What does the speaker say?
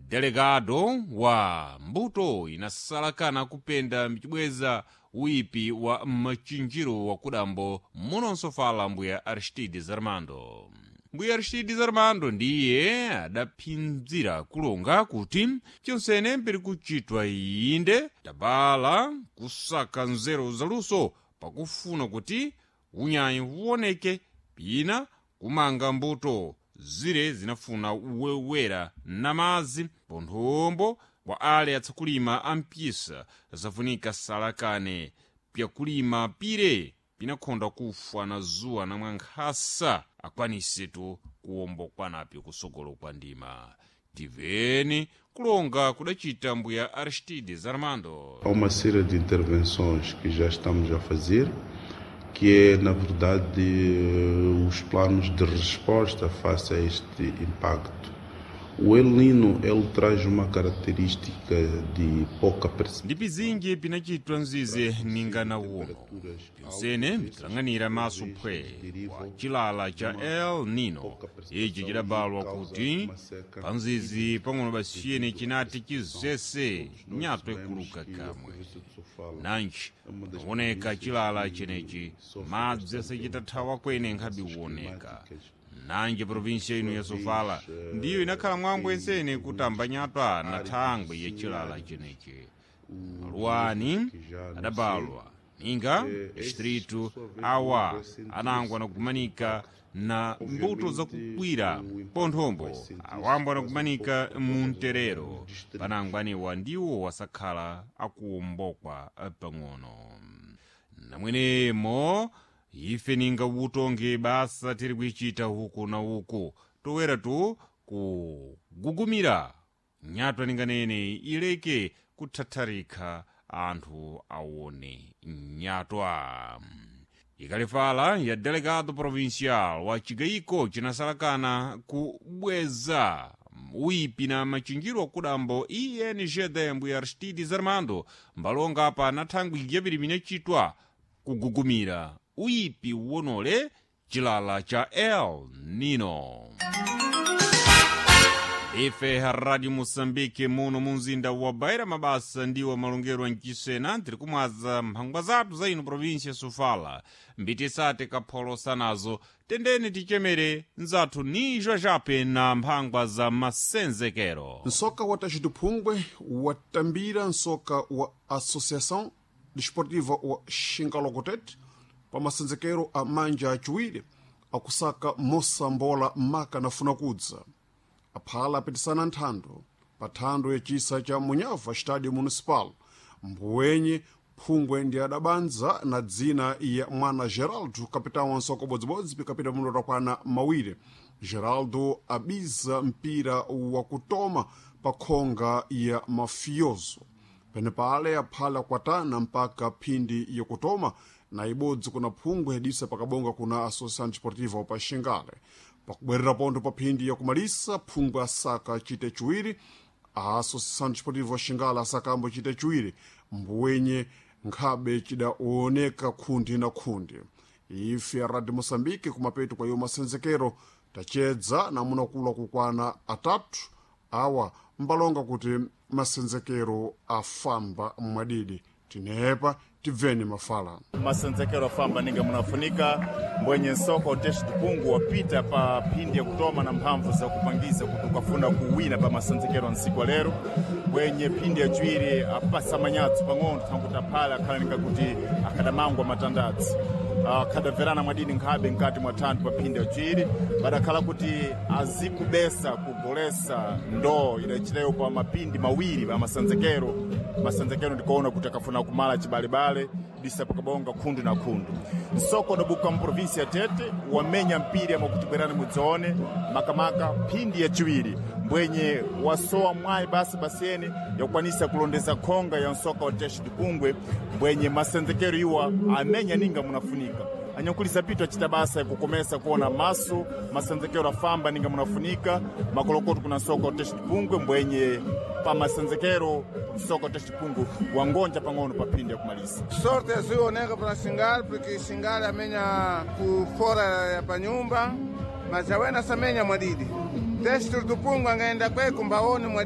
Delegado wa mbuto inasalakana kupenda mchibweza uipi wa machinjiro wa kudambo munonso fala mbuya Aristides Armando. Mbuya Aristides Armando ndiye adaphinzira kulonga kuti chonsene mpiri kuchitwa inde tabala kusaka nzeru zaluso pakufuna kuti unyayi uwoneke pina kumanga mbuto zire zinafuna uwewera namazi ponthombo kwa ale atsakulima ampisa zafunika salakane pyakulima pire pinakhonda kufa na zuwa na mwankhasa akwanisetu kuwombokwanapyo kusogolo kwa ndima. Tiveni kulonga kudacita mbuya Aristides Armando. Há uma série de intervenções que já estamos a fazer, que é, na verdade, os planos de resposta face a este impacto. O El Nino, ele traz uma característica de pouca Ndi pizinji pinachitwa mzize ninga na uno pyonsene mtilang'anira maso phwe wa chilala cha El Nino ichi chidabalwa kuti pa mzizi pang'ono basiyene chinati chizese nyatwa ikuluka kamwe. Nanji panaoneka chilala chenechi, madzi asachitathawa kwene nkhabe uwoneka. Nanji provinsia ino ya Sofala ndiyo inakhala mwambo ensene kutamba nyatwa na thangwi ya chilala chenechi. Maluwani adabalwa ninga distritu awa anangwa nakumanika na mbuto zakukwira ponthombo awambo anakumanika munterero panangwaniwa ndiwo wasakhala akuwombokwa pang'ono. Namwenemo ife ninga utonge basa tiri kuichita huku na uku towera tu kugugumira nyatwa ninganene ileke kuthatharika anthu aone nyatwa. Ikalifala ya delegado provincial wa chigayiko chinasalakana kubweza uipi na machinjiro akudambo ingd mbuya Aristides Armando mbalonga apa na thangwi yapiri minachitwa kugugumira uipi wonole chilala cha El Nino. Ife Radio Moçambique muno munzinda wa Beira mabasa ndiwo malongero a mchisena tiri kumwaza mphangwa zathu za ino província Sofala mbitisate kapholosa nazo tendeni tichemere nzathu nijwa jape na mphangwa za masenzekero. Nsoka wa Tajiduphungwe watambira nsoka wa Associação Desportiva wa Xingalokotete pa masenzekero a manja aciwiri akusaka mosambola maka nafuna kudza. Aphala apitisana nthando pa thando yacisa cha Munhava Estádio Municipal. Mbuwenye phungwe ndi adabanza na dzina ya mwana Geraldo, kapitão wa nsoka ubodzibodzi pikapita mundo takwana mawiri. Geraldo abiza mpira wakutoma pa khonga ya mafioso. Penepale aphala kwatana mpaka phindi yakutoma na ibodzi kuna phungwe yadisa pakabonga kuna Associação Desportiva pa Xingale. Pakubwerera pontho pa phindi yakumalisa phungwe asaka chite chiwiri, a Associação Desportiva Xingale asakambo chite chiwiri, mbuwenye nkhabe chidaoneka khundi na khundi. Ife Radio Moçambique kumapeto kwa iyo masenzekero tachedza namunakula kukwana atatu awa mbalonga kuti masenzekero afamba mwadidi. Tinepa tibveni mafala. Masenzekero afamba ninga munafunika mbwenye nsoko teshi tupungu wapita pa phindi ya kutoma na mphamvu za kupangiza kuti ukafuna kuwina pa masenzekero nsiku lero bwenye phindi yaciwiri apasa manyatsi pang'ono thankuti aphala akhala ninga kuti akadamangwa matandatsi akadamverana mwadini nkhabe nkati mwa thanthu pa phindi yaciwiri badakhala kuti azikubesa kugolesa ndoo idachitayo pa mapindi mawiri pa masenzekero. Masenzekero ndikuona kuti akafuna kumala chibalebale disa pakabonga khundu na khundu. Nsoko udabuka mprovinsi ya Tete wamenya mpira amakuti bwerani mudzaone makamaka phindi yaciwiri mbwenye wasowa mwayi basi basiyene yakukwanisa kulondeza khonga ya nsoka wa Teshi Dipungwe mbwenye masenzekero iwa amenya ninga munafunika. Anyankulisa pitu achita basa yakukomesa kuona maso masenzekero afamba ninga munafunika makolokoto kuna nsoka wa Teshi Dipungwe mbwenye pa masenzekero nsoka wa Teshi Dipungwe wangonja pang'ono pa phindi yakumalisa. Sorte azioneka para Xingale porque Xingale amenya ku fora ya panyumba mas awena samenya mwadidi. Testo do Pungo angaenda kwe kumbaoni mwadidi.